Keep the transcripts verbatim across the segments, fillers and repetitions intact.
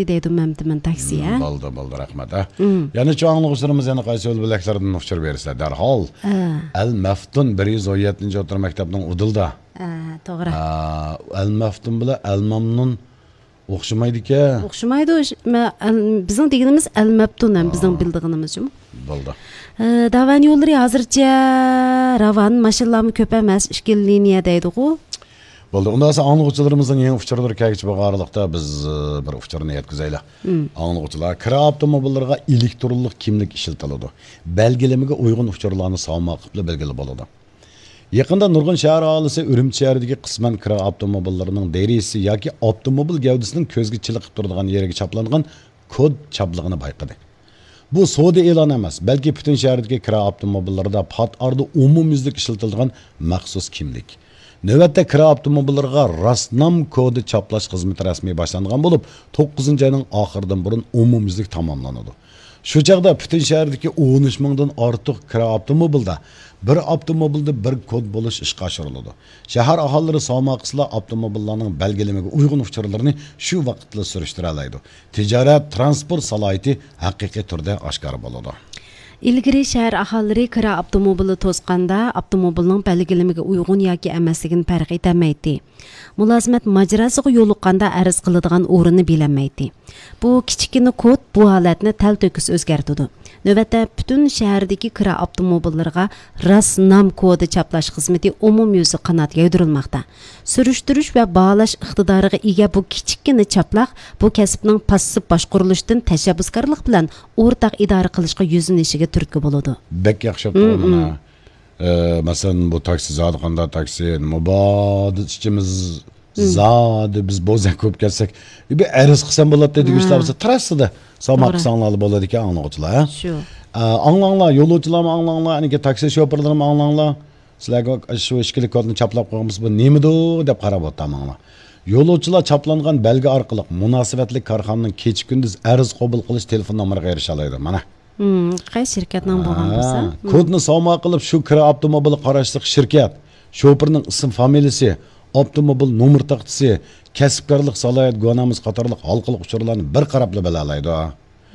دەيدۇ مەمتىمىن تاكسى، ھە؟ بولدى، بولدى، رەھمەت، ھە. مم. يەنە شۇ ئاڭلىغۇچىلىرىمىز يەنە قايسى يول بۆلەكلەردىن ئۇچۇر بېرىسىلەر؟ دەرھال. ھە. ئەل مەفتۇن بىر يۈز ئون يەتتىنچى ئوتتۇرا مەكتەپنىڭ ئۇدۇلدا. ھە، توغرا. ھە، ئەل مەفتۇن بىلەن ئەل مەمنۇن ئوخشىمايدىكەن. ئوخشىمايدۇ. ئەل-، بىزنىڭ دېگىنىمىز ئەل مەپتۇن ھەم بىزنىڭ بىلىدىغىنىمىزچۇ؟ بولدى. ئە، داۋان يوللىرى ھازىرچە راۋان، ماشىنىلارمۇ كۆپ ئەمەس، ئىككىلا لىنىيە دەيدىغۇ. بولدى. ئۇنداق بولسا ئاڭلىغۇچىلىرىمىزنىڭ يېڭى ئۇچۇرلىرى كەلگۈچە بولغان ئارىلىقتا بىز، ئە، بىر ئۇچۇرنى يەتكۈزەيلى. مم. ئاڭلىغۇچىلار، كىرا ئاپتوموبىللىرىغا ئېلېكترونلۇق كىملىك ئىشلىتىلىدۇ. بەلگىلىمىگە ئۇيغۇن ئۇچۇرلارنى سالماق قىلىپ بەلگىلىگىلى بولىدۇ. يېقىندا نۇرغۇن شەھەر ئاھالىسى ئۈرۈمچى شەھىرىدىكى قىسمەن كىرا ئاپتوموبىللىرىنىڭ دېرىزىسى ياكى ئاپتوموبىل گەۋدىسىنىڭ كۆزگە چېلىقىپ تۇرىدىغان يېرىگە چاپلانغان كود چاپلىقىنى بايقىدى. بۇ سودا ئېلانى ئەمەس، بەلكى پۈتۈن شەھەردىكى كىرا ئاپتوموبىللىرىدا پات ئارىدا ئومۇميۈزلۈك ئىشلىتىلىدىغان مەخسۇس كىملىك. نۆۋەتتە كىرا ئاپتوموبىللىرىغا راسنام كودى چاپلاش خىزمىتى رەسمىي باشلانغان بولۇپ، توققۇزىنچى ئاينىڭ ئاخىرىدىن بۇرۇن ئومۇميۈزلۈك تاماملىنىدۇ. شۇ چاغدا پۈتۈن شەھەردىكى ئون ئۈچ مىڭدىن ئارتۇق كىرا ئاپتوموبىلدا بىر ئاپتوموبىلدا بىر كود بولۇش ئىشقا ئاشۇرۇلىدۇ. شەھەر ئاھالىلىرى سالماق قىلسىلا ئاپتوموبىللارنىڭ بەلگىلىمىگە ئۇيغۇن ئۇچۇرلىرىنى شۇ ۋاقىتلا سۈرۈشتۈرەلەيدۇ. تىجارەت، تىرانسپورت سالاھىيىتى ھەقىقىي تۈردە ئاشكارا بولىدۇ. ئىلگىرى شەھەر ئاھالىلىرى كىرا ئاپتوموبىلى توسقاندا ئاپتوموبىلنىڭ بەلگىلىمىگە ئۇيغۇن ياكى ئەمەسلىكىنى پەرق ئېتەلمەيتتى. مۇلازىمەت ماجىراسىغا يولۇققاندا ئەرز قىلىدىغان ئورۇننى بىلەلمەيتتى. بۇ كىچىككىنە كود بۇ ھالەتنى تەلتۆكۈس ئۆزگەرتىدۇ. نۆۋەتتە پۈتۈن شەھەردىكى كىرا ئاپتوموبىللىرىغا راس نام كودى چاپلاش خىزمىتى ئومۇميۈزلۈك قانات يايدۇرۇلماقتا. سۈرۈشتۈرۈش ۋە باھالاش ئىقتىدارىغا ئىگە بۇ كىچىككىنە چاپلاق بۇ كەسىپنىڭ پاسسىپ باشقۇرۇلۇشىدىن تەشەببۇسكارلىق بىلەن ئورتاق ئىدارە قىلىشقا يۈزلىنىشىگە تۈرتكە بولىدۇ. بەك ياخشى بوپتۇ مانا. ئە، مەسىلەن، بۇ تاكسى زادى قانداق تاكسى، مۇبادا ئىچىمىز زادى بىز بوزەك بولۇپ كەتسەك، بىر ئەرز قىلسام بولاتتى دېگۈچىلەر بولسا، تراستىدا سامان قىلساڭلار بولىدىكەن، ئاڭلىغۇچىلار، ھە؟ شۇ. ئە، ئاڭلاڭلار، يولۇچىلارمۇ ئاڭلاڭلار، ئەنىكى تاكسى شوپۇرلىرىمۇ ئاڭلاڭلار. سىلەرگە شۇ ئىككىلىك كودنى چاپلاپ قويغان بولسا، بۇ نېمىدۇ دەپ قاراپ ئولتۇرماڭلار. يولۇچىلار چاپلانغان بەلگە ئارقىلىق مۇناسىۋەتلىك كارخانىنىڭ كېچە-كۈندۈز ئەرز قوبۇل قىلىش تېلېفون نومۇرىغا ئېرىشەلەيدۇ. مانا. ھىم، قايسى شىركەتنىڭ بولغان بولسا. ھىم. كودنى ساما قىلىپ، شۇ كىرا ئاپتوموبىلىغا قاراشلىق شىركەت، شوپۇرنىڭ ئىسىم فامىلىسى، ئاپتوموبىل نومۇر تاختىسى، كەسىپكارلىق سالاھىيەت گۇۋاھنامىسى قاتارلىق ھالقىلىق ئۇچۇرلارنى بىر قاراپلا بىلەلەيدۇ.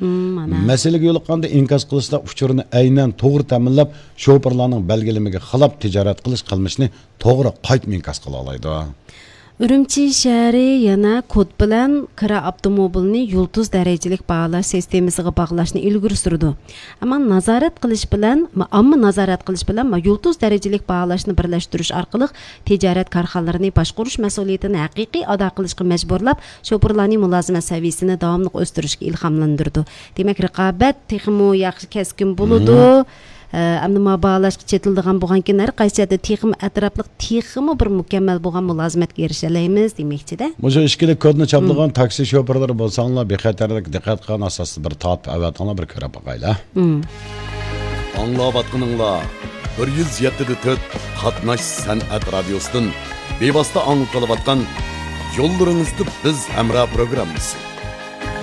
ھىم، مانا. مەسىلىگە يولۇققاندا ئىنكاس قىلىشتا ئۇچۇرنى ئەينەن توغرا تەمىنلەپ، شوپۇرلارنىڭ بەلگىلىمىگە خىلاپ تىجارەت قىلىش قىلمىشىنى توغرا قايتا ئىنكاس قىلالايدۇ. ئۈرۈمچى شەھىرى يەنە كود بىلەن كىرا ئاپتوموبىلنى يۇلتۇز دەرىجىلىك باھالاش سىستېمىسىغا باغلاشنى ئىلگىرى سۈرىدۇ. ئەمما نازارەت قىلىش بىلەن، ئامما نازارەت قىلىش بىلەن يۇلتۇز دەرىجىلىك باھالاشنى بىرلەشتۈرۈش ئارقىلىق تىجارەت كارخانىلىرىنى باشقۇرۇش مەسئۇلىيىتىنى ھەقىقىي ئادا قىلىشقا مەجبۇرلاپ، شوپۇرلارنى مۇلازىمەت سەۋىيەسىنى داۋاملىق ئۆستۈرۈشكە ئىلھاملاندۇرىدۇ. دېمەك، رىقابەت تېخىمۇ ياخشى، كەسكىن بولىدۇ. ئە، ئەمدى ما باھالاشقا چېتىلىدىغان بولغانكىن، ھەر قايسى يەردە تېخىمۇ ئەتراپلىق، تېخىمۇ بىر مۇكەممەل بولغان مۇلازىمەتكە ئېرىشەلەيمىز دېمەكچىدە. مۇشۇ ئىككىلىك كودنى چاپلىغان تاكسى شوپۇرلىرى بولساڭلار، بىخەتەرلىك دىققەت قىلغان ئاساستا بىر تارتىپ ئەۋەتىڭلار، بىر كۆرۈپ باقايلى. ئاڭلاۋاتقىنىڭلار بىر يۈز يەتتە دە تۆت قاتناش سەنئەت رادىيوسىدىن بىۋاسىتە ئاڭلىتىلىۋاتقان يوللىرىڭىزدا بىز ھەمراھ پروگراممىسى.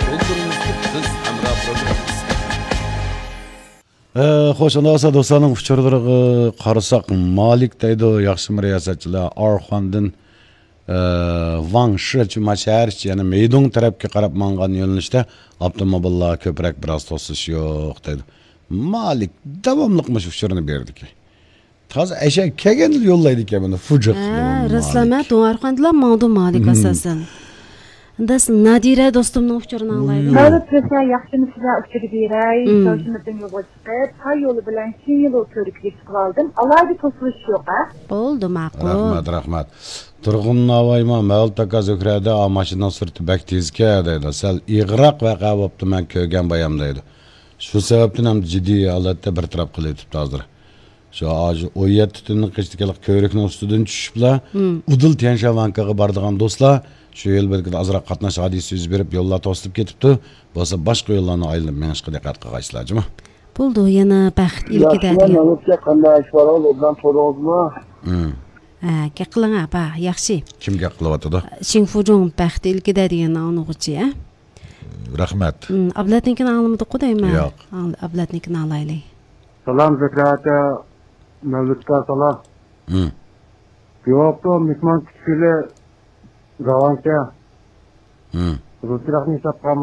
يوللىرىڭىزدا بىز ھەمراھ پروگراممىسى. ئە، خوش، ئۇنداق بولسا دوستلارنىڭ ئۇچۇرلىرىغا قارىساق، مالىك دەيدۇ، ياخشىمۇ رىياسەتچىلەر؟ ئارخاندىن، ئە، ۋاڭ شىچۈما شەھەر ئىچى، يەنى مېيدۇڭ تەرەپكە قاراپ ماڭغان يۆنىلىشتە ئاپتوموبىللار كۆپرەك، بىراز توسۇش يوق دەيدۇ. مالىك داۋاملىق مۇشۇ ئۇچۇرنى بېرىدىكەن. تازا ئەشەگە كەلگەندىلا يوللايدىكەن بۇنى، فۇجىق. ھە، رەسلەمە، دۇڭ ئارخاندىلا ماڭدۇ مالىك ئاساسەن. داس نادىرە دوستۇمنىڭ ئۇچۇرىنى ئاڭلايلى. مەۋلۇت رەسە، ياخشىمۇ سىلەر؟ ئۇچۇر بېرەي. شاۋشىمىردىن يولغا چىقىپ، تاي يولى بىلەن شىنيىلۇ كۆۋرۈكىگە چىقىۋالدىم. ئالاھىدە توسۇلۇش يوق، ھە؟ بولدى، ماقۇل. رەھمەت، رەھمەت. تۇرغۇن ناۋايمۇ، مەۋلۇت ئاكا، زۆھرەدە، ئا، ماشىنىنىڭ سۈرئىتى بەك تېزكەن دەيدۇ. سەل ئېغىرراق ۋەقە بوپتۇ، مەن كۆرگەن بايام دەيدۇ. شۇ سەۋەبتىن ھەم جىددىي ھالەتتە بىر تەرەپ قىلىۋېتىپتۇ ھازىر. شۇ، شۇ ئون يەتتە تۈننىڭ قېشىدىكى كۆۋرۈكنىڭ ئۈستىدىن چۈشۈپلا، ئۇدۇل تيەنشان ۋانكىغا بارىدىغان دوستلار، شۇ يول بېلىكىدە ئازراق قاتناش ھادىسىسى يۈز بېرىپ، يوللار توسۇلۇپ كېتىپتۇ. بولسا باشقا يوللارنى ئايلىنىپ مېڭىشقا دىققەت قىلغايسىلەر، جۇمۇ. بولدى، يەنە بەخت ئىلكىدە ياخشىمەن، دېگەن. مەلۇككە قانداق ئەھۋالىڭىز، ئوبدان تۇردىڭىزمۇ؟ ھە، گەپ قىلىڭ، ئاپا، ياخشى. كىم گەپ قىلىۋاتىدۇ؟ شىڭفۇجۇڭ بەخت ئىلكىدە دېگەن ئاڭلىغۇچى، ھە؟ رەھمەت. ئابلەتنىڭكىنى ئاڭلىمىدۇققۇ دەيمەن. ياق. ئابلەتنىڭكىنى ئاڭلايلى. سالام زۆھرە ئاكا، مەۋلۇتقا سالام. بىۋاپا مېھمان كۈتكىلى راۋانكە. رۇسچىراقنى ھېسابقا